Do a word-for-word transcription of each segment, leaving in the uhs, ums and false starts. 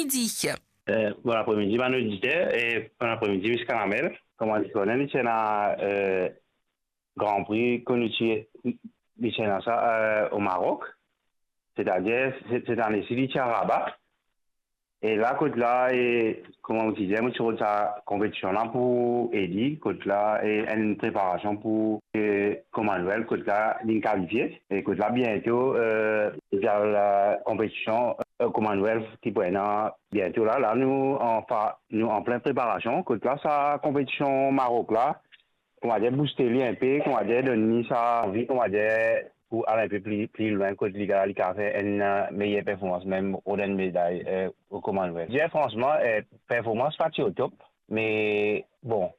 Di. Eh, bon apremidi, bann oditer, e bon apremidi, Miss Kanamel. Kouma zot konn, nou ti ena, eh, Grand Prix, kouma nou ti, nou ti ena sa, eh, o Marok. Setadir, se-, set ane si, li ti a Rabat. E la, kot la, e, kouma mo ti dir, mo ti rod sa konpetision la pou edi, kot la, e, enn preparasion pou, e, Commonwealth, kot la, linn kalifie. E kot la, biento, e, li al, e, konpetision, e, Commonwealth ki pou ena biento la. La, nou an fa-, nou an plin preparasion. Kot la, sa konpetision Marok la, kouma dir, bouste li inpe, kouma dir, donn li sa anvi, kouma dir, pou al inpe pli, pli lwin kot li, li kapav fer enn, eh, meyer performans, mem rod enn meday, eh, o Commonwealth. Dir fransman, eh, performans pa ti o top, me bon,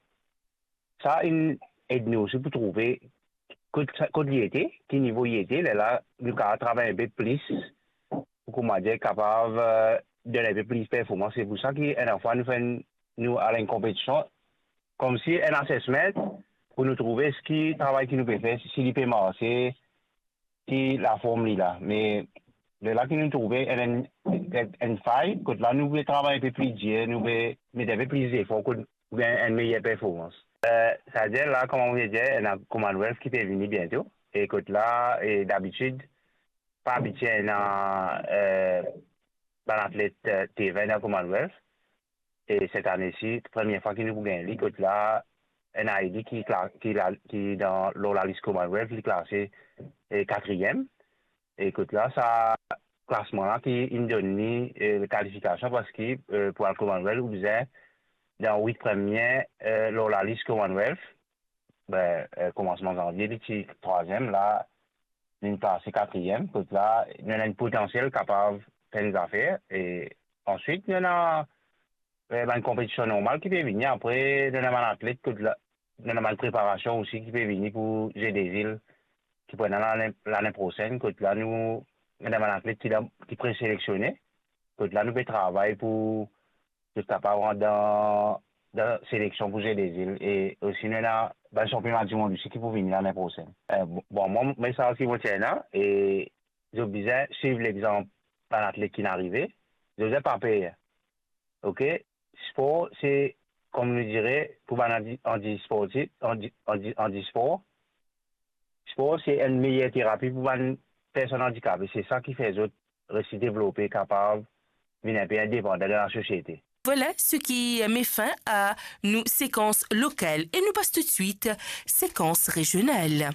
sa inn ed nou osi pou trouve kot, kot li ete, ki nivo li ete, lerla nou kapav travay inpe plis pou, kouma dir, kapav, eh, donn inpe plis performans. Se pou sa ki enn fwa nou fer enn, nou al enn konpetision, koumsi enn assessment, pou nou trouve eski travay ki nou pe fer, si li pe marse, ki laform li la. Me lerla ki nou trouve enn, enn, enn fay, kot la nou pe travay inpe pli dir, nou pe met inpe plis zefor, kot pou gagn enn meyer performans. Eh, savedir la, kouma mo dir, ena Commonwealth ki pe vini biento, e kot la, e dabitid, pa abitie ena, eh, bann atlet, eh, T vingt dan Commonwealth. E set ane si, premie fwa ki nou pou gagn li, kot la, ena edi ki kla-, ki la, ki dan, lor lalis Commonwealth, li klase, eh, katriem. E kot la, sa klasman la ki inn donn li, eh, kalifikasion, parski, eh, pou al Commonwealth, ou bizin dan wit premie, eh, lor lalis Commonwealth. Be, eh, koumansman zanvie, li ti trwaziem, la, linn klase katriem, kot la, nou ena enn potansiel kapav fer enn zafer, e answit, nou ena, eh, bann konpetision normal ki pe vini, apre, nou ena bann atlet, kot la, nou ena bann preparasion osi ki pe vini pou Jeux des Îles, ki pou ena lane, lane prosenn, kot la, nou, nou ena bann atlet ki dan, ki preselektione, kot la, nou pe travay pou zot kapav rant dan, dan seleksion pou Jeux des Îles. E osi, nou ena bann sanpiona dimond osi ki pou vini lane prosenn. Eh, bon, bon, mwa, mwa, sa ki mo ti ena, e zot bizin swiv lexanp bann atlet ki'nn arive, zot bizin pa per. Oke? Spor, se, kouma nou dire, pou bann andi-, andisportif, andi-, andi-, andispor, spor, se enn meyer terapi pou bann personn andikape. Se sa ki fer zot resi devlope, kapav vinn inpe indepandan dan lasosiete. Voilà ce qui met fin à nos séquences locales et nous passe tout de suite séquence régionale.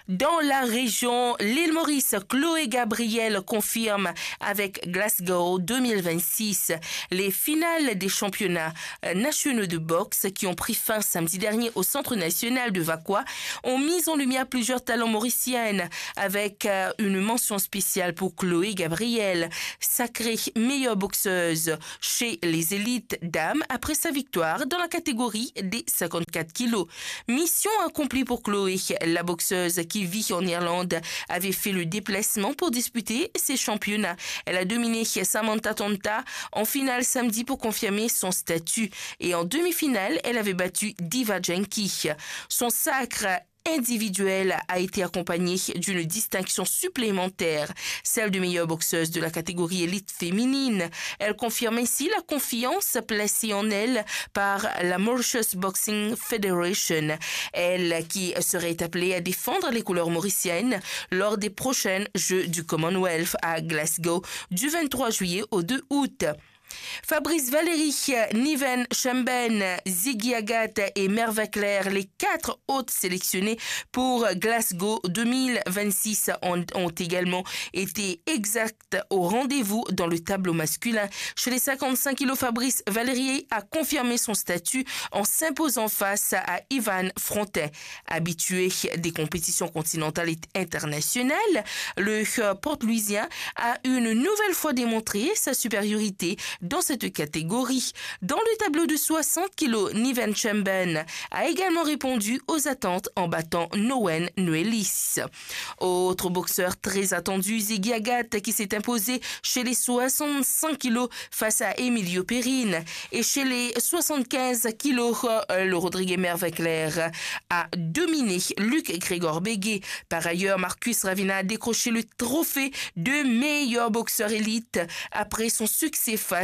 Dans la région, l'île Maurice, Chloé Gabriel confirme avec Glasgow deux mille vingt-six. Les finales des championnats, euh, nationaux de boxe qui ont pris fin samedi dernier au Centre national de Vacoas ont mis en lumière plusieurs talents mauriciennes avec, euh, une mention spéciale pour Chloé Gabriel, sacrée meilleure boxeuse chez les élites dames après sa victoire dans la catégorie des cinquante-quatre kilos. Mission accomplie pour Chloé. La boxeuse qui vit en Irlande avait fait le déplacement pour disputer ses championnats. Elle a dominé Samantha Tonta en finale samedi pour confirmer son statut. Et en demi-finale, elle avait battu Diva Janki. Son sacre individuel a été accompagné d'une distinction supplémentaire, celle de meilleure boxeuse de la catégorie élite féminine. Elle confirme ainsi la confiance placée en elle par la Mauritius Boxing Federation, elle qui serait appelée à défendre les couleurs mauriciennes lors des prochains Jeux du Commonwealth à Glasgow du vingt-trois juillet au deux août. Fabrice Valéry, Niven Chemben, Ziggy Agathe et Merve Claire, les quatre autres sélectionnés pour Glasgow deux mille vingt-six, ont, ont également été exacts au rendez-vous dans le tableau masculin. Chez les cinquante-cinq kilos, Fabrice Valéry a confirmé son statut en s'imposant face à Ivan Frontin. Habitué des compétitions continentales et internationales, le, euh, Port-Louisien a une nouvelle fois démontré sa supériorité dans cette catégorie. Dans le tableau de soixante kilos, Niven Chemben a également répondu aux attentes en battant Nowen Noelis. Autre boxeur très attendu, Ziggy Agathe, qui s'est imposé chez les soixante-cinq kilos face à Emilio Perrine. Et chez les soixante-quinze kilos, euh, le Rodriguez Merve Claire a dominé Luc Grégor Béguet. Par ailleurs, Marcus Ravina a décroché le trophée de meilleur boxeur élite après son succès face